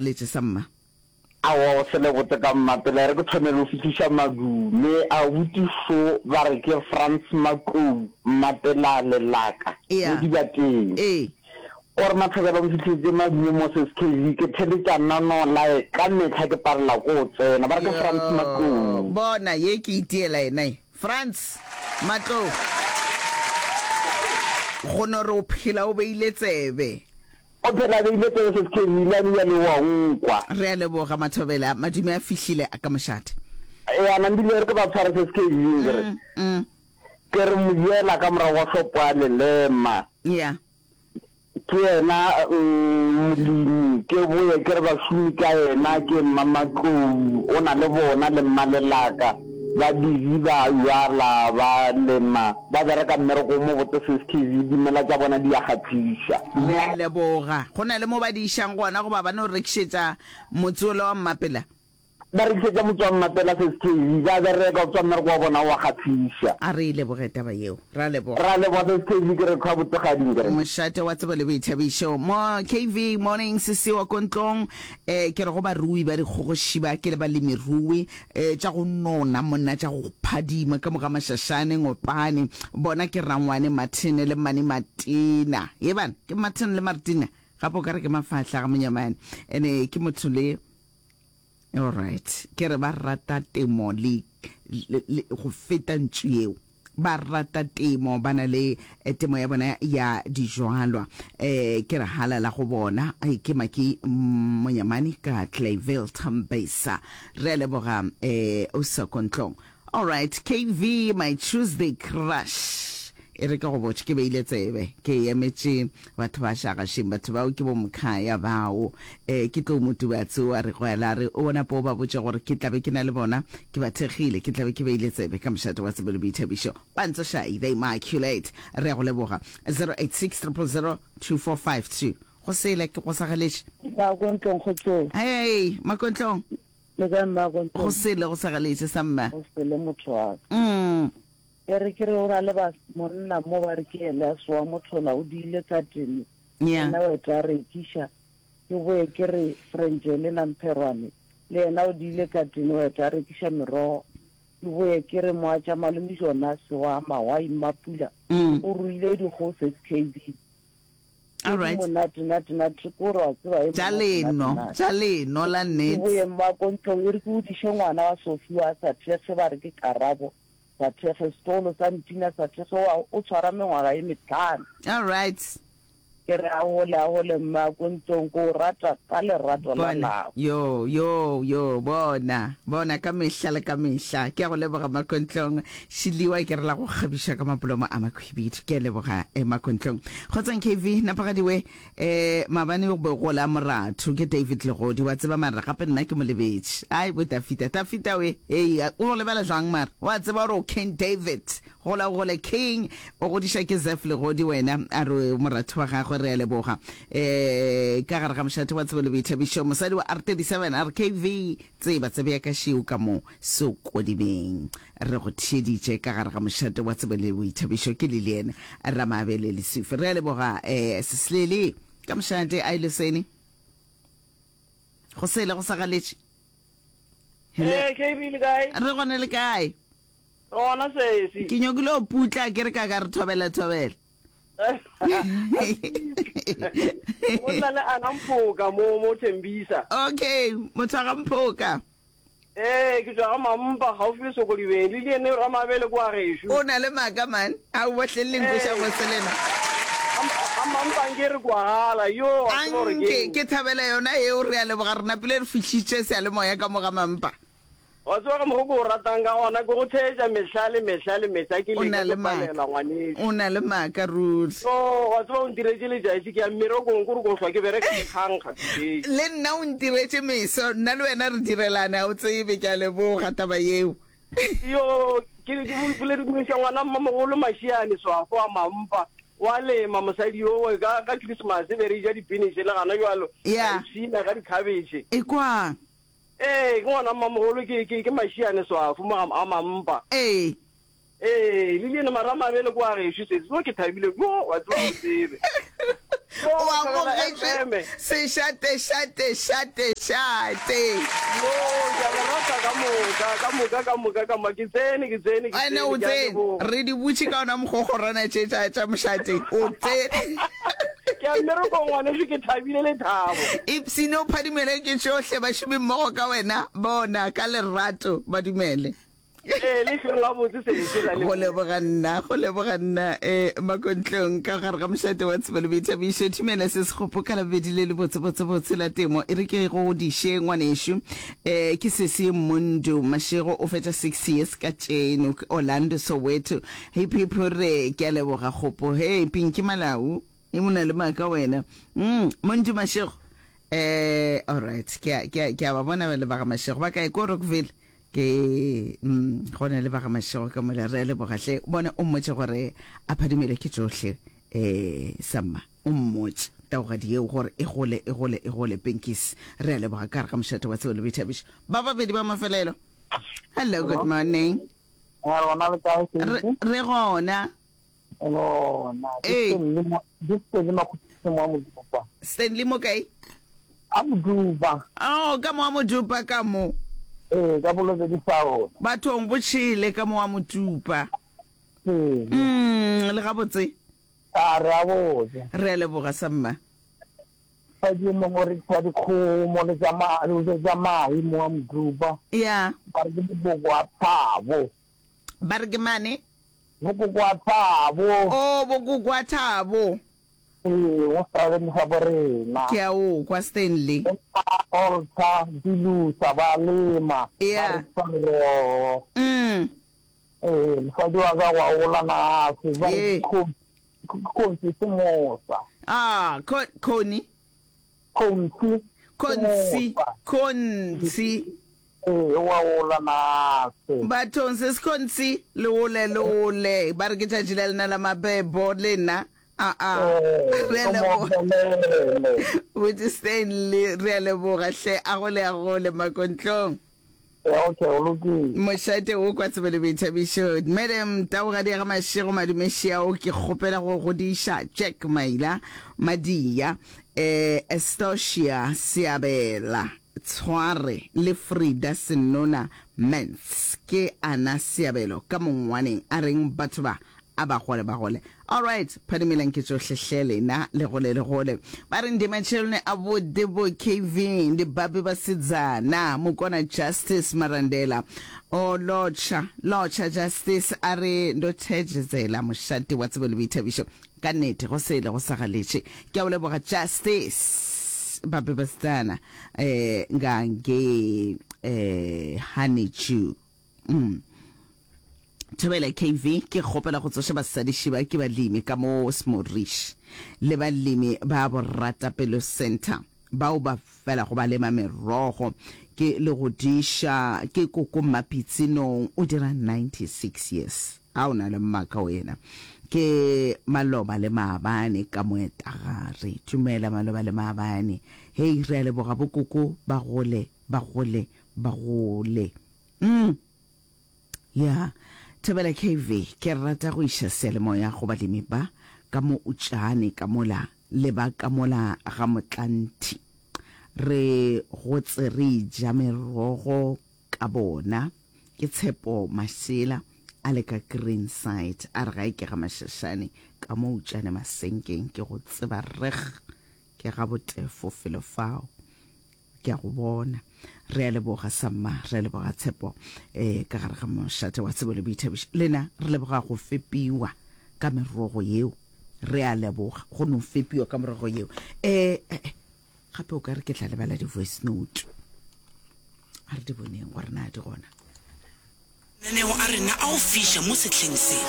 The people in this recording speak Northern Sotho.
Letše sa mma. Aowa o se le botse ka mma pele re ke thome le go fihliša madume a buti šo ba re ke Frans Makou Mmapela Lelaka Ea. mo Dibateng. Ee. O re Mathobela o mfihlišetše madume mo SKV ke theletša nano lae ka mehla ke palela ko o tsena ba re ke Frans Yoo, Makou. bona ye ke itiela yena ye. Frans Matlou. Go no re o phela o beile tsebe. O phela a beile tsebe se se ile a bile le wa nkwa. Re a leboga Mathobela, madume a fihlile a ka mošate. Ya nambile re ke ba tshware se se ke re. Ke re mojela ka morago ga hlopo a lelema. Ya. Ke yena molemi ke boye ke re bašomi ka yena ke Mmamatlou o na le bona le Mmalelaka. Ba busy ba jwala, ba lema, ba bereka mmereko o mobotse sis KV, dimela tša bona di a kgahliša. Re a leboga. Go na le mo ba di išang gona goba ba no rekišetša motse wola wa Mmapela? Ba rekišetša motse wa Mmapela sis KV, ba bereka, o tseba mmereko wa bona o a kgahliša. A re e leboge taba yeo. Ra leboga. Ra leboga sis KV, ke re hlwa botsegading ke re. Mošate wa tsebo le boithabišo mo KV Morning Sisi wa ko ntlong eh ke re go barui ba dikgogošiba ke le balemirui E, tša go nona monna, tša go phadima ka moga mašašane, ngopane. Bona ke rangwane Martin le mmane Martina. Ye bana, ke Martin le Martina. Gape o ka re ke mafahla ga monyamane. Ene ke motho le All right. Ke re ba rata temo le, le, le go feta ntšu yeo. Ba rata temo, ba na le temo ya bona ya dijwalwa. Eh, ke re halala go bona. Ke Maki Monyamane ka Clayville, Tembisa. Re a leboga, eh, Usokontlong. All right, KV, my Tuesday crush. E re ke go botše, ke beile tsebe, ke emetše batho ba šagašeng, batho bao ke bo Mkhaya bao. Eh, ke tlo Motubatse o a re gwela, a re o bona po ba botše gore ke tla be ke na le bona, ke ba thekgile, ke tla be ke beile tsebe ka mošate wa tsebo le boithabišo. Pantsošai, the Immaculate, re a go leboga. 086 000 2452. Go sele, ke go sagaletše. Makontlong kgotsong. Hei, Makontlong. Le kae Mmakontlong? Go sele, go sagaletše sa mma. Go sele motho wa ka. Mm. E re ke re o na le ba monna mo ba re ke Elias wa Mothola o diile ka tene. Yeah. Yena o eta a rekiša. Ke boye ke re Frenjele Nampherwane le yena o diile ka tene o eta a rekiša merogo. Ke boye ke re moatša malome Jonase wa Mawai Mmapula o ruile dikgogo SKB. All right. Monate nate nate ko re wa tseba e Tša leno, tša leno la Ke nnete. boye mmakontlong e re ke godiše ngwana wa Sophie wa sa thekge ba re ke Karabo. Sa thekge setlogolo sa Ntina sa thekge wa o tshwara mengwaga ye metlhano. All right. Ke re a gole a gole mma ko ntlong ko o rata ka lerato la Bona, lapa. yo, yo, yo, bona, bona, ka mehla le ka mehla. Ke a go leboga, Makontlong. Šiliwa ke re la go kgabiša ka mapolomo a makhwibidu. Ke a leboga, eh, Makontlong. Kgotsong KV, napagadiwe, eh, maabane go be go la moratho, ke David Legodi, wa tseba mara gape nna ke mo lebetše. Ai, bo Dafita, Dafita we, hei, o go lebala jwang mara? Wa tseba gore o King David. Gola o gole King, o godiša ke Zeph Legodi wena, a re moratho wa gagwe re a leboga. Eh, ka gare ga mošate wa tsebo le boithabišo, mosadi wa R37 a re KV, tseba tsebe ya ka šeo ka mo Sokodibeng. Re go theeditše ka gare ga mošate wa tsebo le boithabišo ke Lilian Ramabele Lesufi. Re a leboga eh, Seslele ka mošate a ilosene. Go sele go sa galetše. Hello. Eh, KB le kae? Re gone le kae? Gona sesi. Ke nyakile go putla ke re ka ka re thobela thobela. Go nna le Ana Mphoka mo mo Thembisa. Okay, motho wa ga Mphoka. Ee, ke tšwa ga Mampa gaufi le Sokodibeng. Le le ene Ramabele kwa gešo. O na le maaka man. A o bohle le nkweša bose lena. Ga Mampa nke re kwagala yo wa tseba gore Anke ke thabela yona eo re a leboga re napile re fihlitše seyalemoya ka mo ga Mampa. Wa tseba ka mokgo ke o ratang ka gona, ke go theetša mehla le mehla le mehla, ke O na leka le ke maaka. palela ngwanešu. O na le maaka ruri. So, wa tseba o ntiretše letšatši, ke ya mmerekong, kore ko hlwa ke bereka ke kgankga today. Le nna o ntiretše meso, nna le wena re direlane, ga o tsebe, ke a leboga taba yeo. Yo, ke ke bolediša ngwana mmamogolo Mašiane Swafo wa Mampa, wa lema mosadi yowe, ka ka Christmas be re ja dipiniše le gana bjalo, ra Yeah. ipshina ka dikhabetšhe. Ekwang. Ee, ke ngwana mmamogolo, ke, ke, ke Mašiane Swafo mo ga, ga Mampa. Ee. Ee, Lilian Maramabele kwa gešo sesi, mo ke thabile, yo, wa tseba o tsebe. O amogetšwe sešate šate šate šate. Yo, ke a le rata ka moka, ka moka, ka moka, ka moka. Ke tsene, ke tsene, ke Ene o tsene, ke a tsene. leboga. Re di butše ka ona mokgokgorwana tše tša tša mošate. O tsene. Ke ya mmerekong ngwanešu, ke thabile lethabo. Ipshine o phadimele ke tšohle bašomi mmogo ka wena, bona ka lerato ba dumele. Ee, le hlong gabotse sese, ra Go leboga. leboga nna, go leboga nna, eh, Makontlong, ka gare ga mošate wa tsebo le boithabišo. Thumela se sekgopo ka labobedi le le botse, botse, botse la temo. E re ke go godiše, ngwanešu. Eh, ke sesi Mundu Mashego, o fetša 60 years ka tšeno, Orlando, Soweto. Hip hip hurray, ke a leboga kgopo. Hei, Pinky Malau, e o na le maaka wena. Mm, Mundu Mashego. Eh, all right, ke a, ke a, ke a ba bona ba le ba ga Mashego. Ba kae ko Rockville? Ke, mm, go na le ba ga Mashego ka mola, re a leboga hle. Bona o mmotše gore a phadimele ke tšohle, eh, samma. O mmotše, taugadi yeo, gore e gole, e gole, e gole, Pinkies. Re a leboga ka gare ga mošate wa tsebo le boithabišo. Ba babedi ba mafelelo. Hello, good morning. Re gona le kae, Re, Sesi? re gona. Re gona. Ke Ee. Stanley mo, ke Stanley Makhuthi mo a Modupa. Stanley mo kae? A Modupa. Oh, ka mo a Modupa ka mo. Ee, ka Bolobedi sa rona. Bathong bo tšhele ka mo a Modupa. Ee. Mm, le gabotse. A re a botse. Re a leboga samma. Mosadi yo mongwe o rekisa dikgomo le tša ma, le tša mahe mo a Modupa. Ya. Ba re ke bokoko wa Thabo. Ba re ke mane? Bokoko wa Thabo. Oh, bokoko wa Thabo. Ee, go stradeng sa borena. Ke a o kwa, Stanley. Alter, Dilusa, ba lema, ba Yeah. rekisa merogo. Mm. Ee, mosadi wa ka gwa gola nase, ba re Ee. ke Khonsi Semosa. Ah, Khoni? Khonsi Khonsi, Semosa. Khonsi. Ee, wa gola nase. Bathong se sekhonsi, le ole, le ole. Ba re ke tšatši la lena la mabebo, lena. Aa, Ee, re a o mo leboga. opelele. Botse Stanley, re a leboga hle. A gole, a gole, Makontlong. Ee, okay, go lokile. Mošate wo kwa tsebo le boithabišo. Madam Taugadi ya ga Mashego Madumešiao ke kgopela go godiša Jack Maila Madia, eh, Estocia Seabela Tshware le Frida Senona Mans ke ana Seabelo ka mongwaneng a reng batho ba A ba gole ba gole. Alright, phadimelang ke tšohle hle lena, le gole le gole. Ba re ndi matsheloni a vhuḓi vho KV, ndi babi vhasidzana, mukona Justice Marandela. O lotsha, lotsha Justice a re ndo thedzedzela mošate wa tsebo le boithabišo. Ka nnete go sele go sa galetše. Ke a o leboga Justice, babi vhasidzana, eh, nga ngei, eh, Honeydew. Mm. Thobela KV, ke kgopela go tsoša basadiši ba ke balemi ka mo Smorish le balemi ba Boratapelo Centre bao ba felago ba lema merogo ke le go diša ke koko Mmapitsi Nong o dira 96 years a o na le mmaka wena ke maloba le maabane ka moetagare dumela maloba le maabane hei re a leboga bo koko ba gole ba gole ba gole mm Ya, Thobela KV, ke rata go iša seyalemoya go balemi ba ka mo Utšane ka mola le ba ka mola ga Motlanthi. Re gotse re ja merogo ka bona. Ke Tshepo Mašela a le ka Greenside a re gae ke ga Mašašane ka mo Utšane Masenkeng ke go tseba reg ke ga Botefo felo fao. Ke a go bona. Re a leboga, Samma. Re a leboga, Tshepo. Eh, ka gare ga mošate wa tsebo le boithabišo. Lena, re leboga go fepiwa ka merogo yeo. Re a leboga go no fepiwa ka merogo yeo. Eh, eh, eh, gape o ka re ke tla lebala di-voice note. A re di boneng gore na di gona. Mananeo a rena a go fiša mo sehleng se.